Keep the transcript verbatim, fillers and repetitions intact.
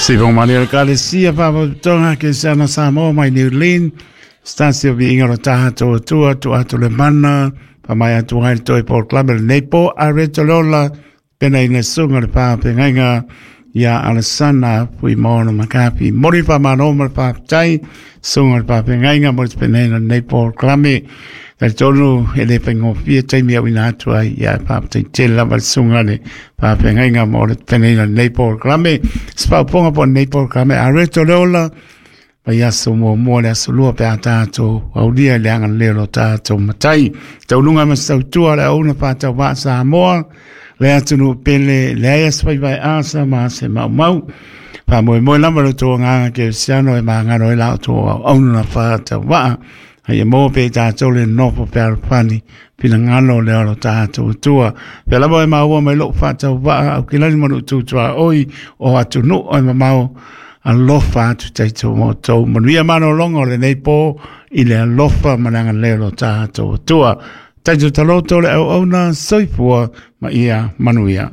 Sipo mani o le kalesia whapaputonga ke sana Samoa mai New Zealand. Stasi o viinga o taha tō tua, tu atu le mana, pa mai atu hai le toi Paul Club le nei po a reto lola, pena ina sunga le pāpengaiga ia Alessana pui mono makapi. Mori pa mano ma le pāptai, sunga le pāpengaiga mo le pena ina nei Paul Club. Tai tonu e le whaingofia taimi au ina atu ai ia pāptai tele lava le sunga le pāpengaiga mo le pena ina nei Paul Club. Spauponga po nei Paul Club a reto lola, Pai aso mua mua le aso lua pe a tātou, aulia le anga leo lo tātou matai. Taulunga ma sautua le auna pātau vaa Samoa, le atunu pele, le aia spai vai asa ma se mau mau. Pā moe moe lama lo tō nganga ke siano e mangano e lao tō au auna na pātau vaa. Hai e mō pe tātou le nopo pe arapani, pina ngano le alo tātou tua. Pe lava e maua mai lou whātau vaa, au kilani manu tūtua oi o atunu o e mamau. Alofa atu taito mo tau manuia mano longo le nei po i le alofa mananga leo tātou tua. Taito taloto le au auna soifua ma ia manuia.